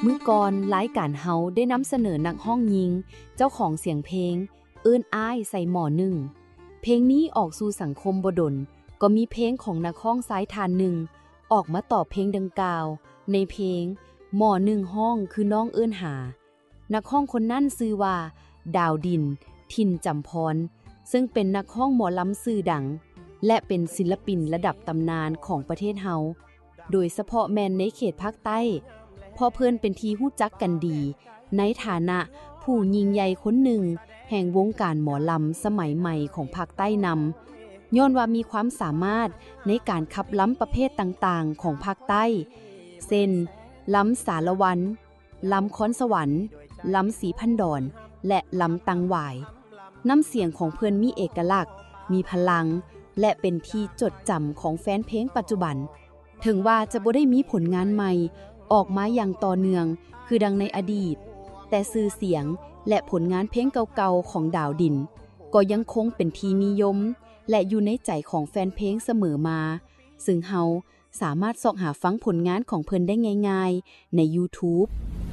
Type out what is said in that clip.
ມື້ກ່ອນລາຍການເຮົາໄດ້ນຳສະເໜີນັກຮ້ອງຍິງເຈົ້າຂອງສຽງເພງ ເອີ້ນອ້າຍໃສ່ໝໍ້ໜຶ່ງ. ເພງນີ້ອອກສູ່ສັງຄົມບໍ່ດົນ ກໍມີເພງຂອງນັກຮ້ອງຊາຍທ່ານໜຶ່ງອອກມາຕອບເພງດັ່ງກ່າວ. ໃນເພງ ໝໍ້ໜຶ່ງຮ້ອງຄືນ້ອງເອີ້ນຫາ. ນັກຮ້ອງຄົນນັ້ນຊື່ວ່າ ດາວດິນ ຖິ່ນຈຳພອນ ເຊິ່ງເປັນນັກຮ້ອງໝໍລຳຊື່ດັງ ແລະ ເປັນສິນລະປິນລະດັບຕຳນານຂອງປະເທດເຮົາ ໂດຍສະເພາະແມ່ນໃນເຂດພາກໃຕ້ ເພາະເພິ່ນເປັນທີ່ຮູ້ຈັກກັນດີໃນຖານະຜູ້ຍິ່ງໃຫຍ່ຄົນໜຶ່ງແຫ່ງວົງການໝໍລຳສະໄໝໃໝ່ຂອງພາກໃຕ້ນຳ, ຍ້ອນວ່າມີຄວາມສາມາດໃນການຂັບລຳປະເພດຕ່າງໆຂອງພາກໃຕ້ ເຊັ່ນ ລຳສາລະວັນ, ລຳຄອນສະຫວັນ, ລຳສີພັນດອນ ແລະ ລຳຕັງຫວາຍ. ນ້ຳສຽງຂອງເພິ່ນມີເອກະລັກ, ມີພະລັງ ແລະ ເປັນທີ່ຈົດຈຳຂອງແຟນເພງປັດຈຸບັນ. ເຖິງວ່າຈະບໍ່ໄດ້ມີຜົນງານໃໝ່ອອກມາຢ່າງຕໍ່ເນື່ອງຄືດັ່ງໃນອະດີດ, ແຕ່ຊື່ສຽງ ແລະ ຜົນງານເພງເກົ່າໆຂອງດາວດິນ ກໍຍັງຄົງເປັນທີ່ນິຍົມ ແລະ ຢູ່ໃນໃຈຂອງແຟນເພງສະເໝີມາ, ເຊິ່ງເຮົາສາມາດຊອກຫາຟັງຜົນງານຂອງເພິ່ນໄດ້ງ່າຍໆໃນ YouTube.